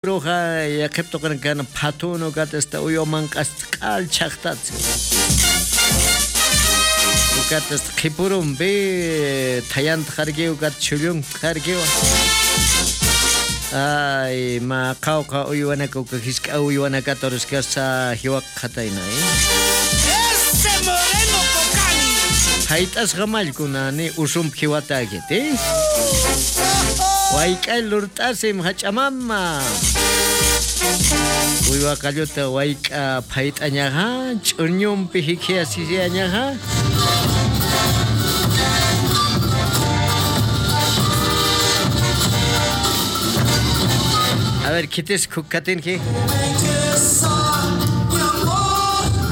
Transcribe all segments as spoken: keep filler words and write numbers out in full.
Roja yaqiptuqan kan phatunu katasta uywaman q'asq'al chaqtatsi. Katas qhipurunpi thayanta harkiwa kat chullunta harkiwa. Ay, ma qawqa uywanaka hisk'a uywanakata ruskasa hiwaq qhatayna, eh. Ese moreno cocani. Hayt'asqa mallkuna ni usumpi hiwata akiti. Wayk'ay lurt'asim hach'amama. Uywa qalluta wayk'a phayt'añaqa ch'uñumpi hikhiasisiañaqa. A ver, kitis khukatinki.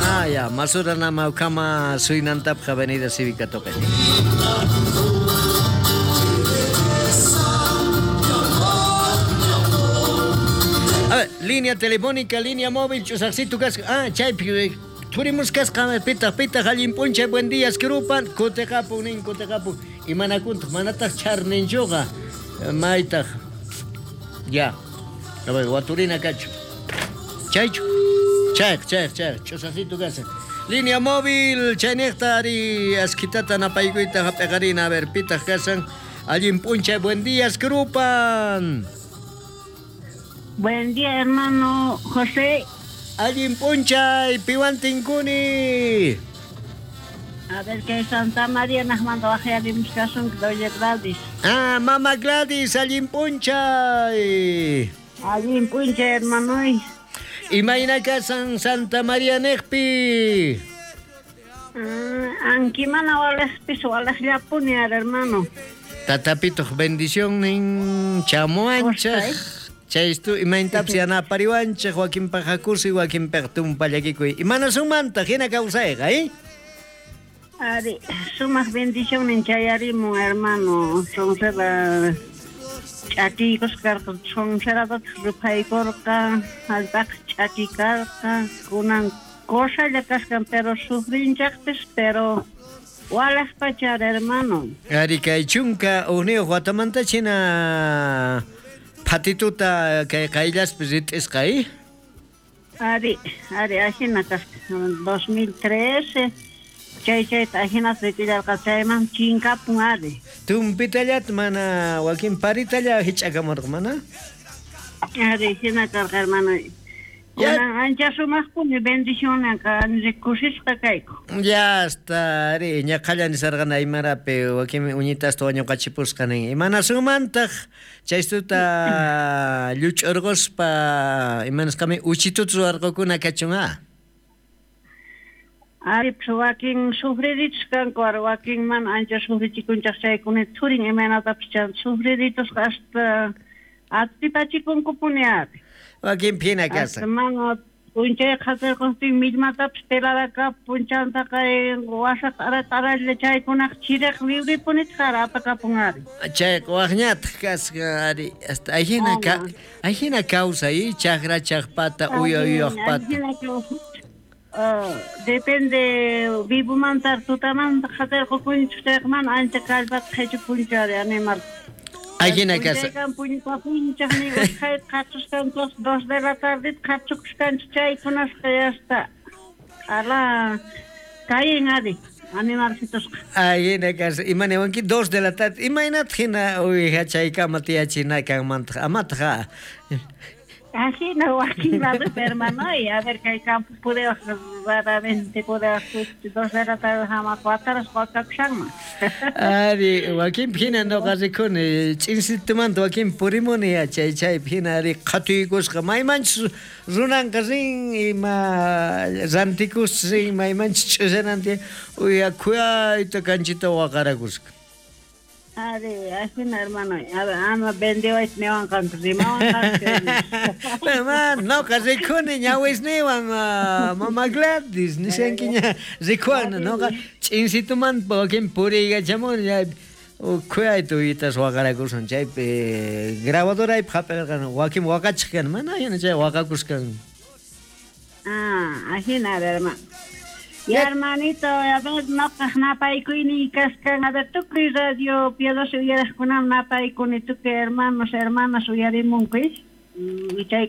Ah, ya, masura nama ukama suynantapqa Avenida Cívica toqani. A ver, línea telefónica, línea móvil, chusaqsitu kasqa. Ah, chaypi turimus kasqa, pitaq pitaq allin p'unchay, buen día, skrupan, kutiqapun nin, kutiqapun. Imanakuntaq, manataq charninchuqa, maytaq. Ya. A ver, waturina kachu. Chaychu. Chayq, chayq, chayq, chusaqsitu kasqa. Línea móvil, chayniqta ari askitata napaykuyta hap'iqarina, a ver, pitaq kasan. Allin p'unchay, buen día, skrupan. Buen día, hermano José. Allin p'unchay, piwan tinkuni. A ver, que Santa María nos mandó a caso, doña Gladys. Ah, mamá Gladys, allin p'unchay. Allin p'unchay, hermano. Imayna kasan Santa María nejpi. Ah, ankimana walejpis walejllapuni, hermano. Tatapitoq bendición nin chamuanchaj. Chaystu imayntapas yanapariwanchej wakinpaq hakusi wakinpaq tumpallakikuy. Imanasumanta hina kawsayqa, eh? Ari, sumaq bendición chayarimun, hermano. Sonsera ch'akiykus karqa, sonserataq ruphaykurqa, hallp'aqa ch'aki karqa, kunan cosalla kasqan, pero sufrinchaqpis, pero walaj pachar, hermano. Ari, kay chunka uqniyuq watamanta china phatituta kay qayllaspi rit'isqa, eh? Ari, ari, ajina kasqa, dos mil trece, chay chayta ajinata rit'illarqa, chayman chinkapun ari. Tumpitallata mana, wakin paritalla hich'akamurqa, mana? Ari, hina karqa, hermano. Kunan ancha sumaqpuni bendicionanqa, kusisqa kayku. Ya está, ari, ñaqhalla nisarqan aymarapi, wakin uñitasta wañuqachipusqa nin. Imanasumantaq chaystuta lluch'urquspa, imanasqami uchituta ruwarqukuna kachun, ah? Ari, pues wakin sufriditos kanku, ari, wakin mana ancha sufrichikunchaq chaykuna thurin imaynatapis chan sufriditos hasta atipachikunkupuni, ari. Wakin phina kasa. Hermano, p'unchay qhatirquptin millmatapis pelaraka punchantaqa wasa t'ara t'aralla chaykunaq chiriq liwripunitaq ari apakapun ari. Chayqa waqñataq kasqa ari, hasta ahina ka, ahina kawsay, chaqra chaqpata, uya uyaqpata. Uh, depende vivomanta tutamanta qhatirqukunchik chayqa mana ancha kallpata qhichupunchu ari animal. Ahina kasa. Puñupapunchaq ni usqhayta qhatusqanchik dos de la tarde qhachukusqanchik chaykunasqa ya está. Ala kayin ari animalcitusqa. Ahina kasa. Imaniwanki dos de la tarde. Imaynataq hina uwiha chaykama tiyachina kanmantaq amataq. Ajina wakin ladopi, hermano, y a ver kay campo pudewaq raramente pudewaq dos de la tarde hamaq wataras wakakushanman. Ari, wakinpi hina nuqa rikuni ch'insitumanta wakinpi purimuni ya chay chaypi hina ari qhatuykusqa maymanchus runanqa rin ima rantikus rin maymanchus ch'usananti uya khuyayta kanchita waqarakusqa. Ari, ajina, hermano, a ver, ama vendiwayta niwanqanku, rimawanqanku. Pero noqa rikuni ñawisniwan, mama Gladys, nishankiña rikuwan, noqa ch'insitumanta wakin puriykachamuni, khuyayta uyitas waqarakusan chaypi grabadoraypi hap'irqan, wakin waqachaq kan, mana hina chay waqakusqan. Ah, ajina, hermano. Ya, hermanito, a ver, noqaq napaykuyniy kasqan, a ver, tukuy radio piadoso uyariqkunam napaykuni, tukuy hermanos, hermanas uyarimunku. Chay